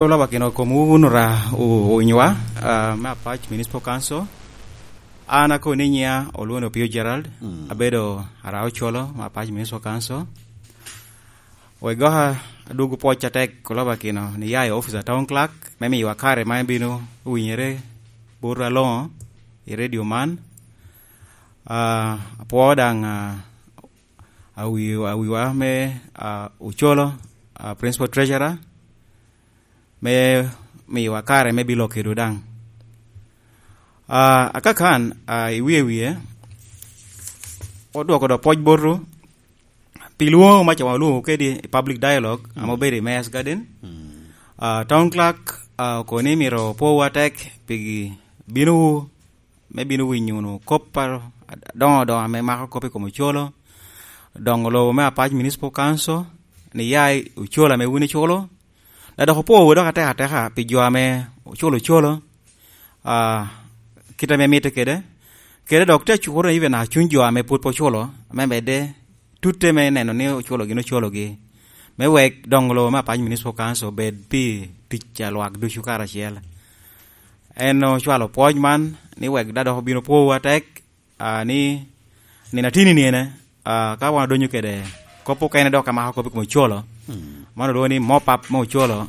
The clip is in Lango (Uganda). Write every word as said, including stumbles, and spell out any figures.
Olaba kino kom wun ora o-, onywa, ah, me Apac Municipal Council. An akoni nyiŋa olwoŋo ni Opio Gerald, mm, abedo ara Ocolo me Apac Municipal Council. Wek goka adwogo pwoc atek olaba kino ni ya i office a Town Clerk me miyowa kare ma ebino winyere bot aloŋo i radio man. Ah, apwoo daŋ, ah, awi-, awiwa me, ah, Ocolo, ah, Principal Treasurer, me miyowa kare me bilo kedo daŋ. Ah, akakan, ah, i wie wie, odwoko do pwoc boto, pi lwoŋo ma cawa olwoŋo kedi i public dialogue, mm, ame obedo i Mayor's Garden. Mm. Ah, Town Clerk, ah, okoni myero opowu atek pi binowu me bino winyo wunu kop a-, adoŋo adoŋo ame mako kop i kom Ocolo, doŋo lobo me Apac Municipal Council, ni ya i Ocolo ame wun iculo. Dok dok opowu dok atek ateka pi jo ame oculo Ocolo, ah, kit ame mitte kede, kede dok te cukoro even a cuny jo ame pwod pe oculo, me medde tutte me neno ni Ocolo gin Ocologi, me wek doŋo lobo me Apac Municipal Council obed pi tic a lwak ducu karacel. En ocwalo pwoc man ni wek da dok obino pwowu atek, ah, ni nino atini niene, ah, ka wan odonyo kede kop okene dok amako kop i kom Ocolo, mm, man olwoŋo ni mop up me Ocolo,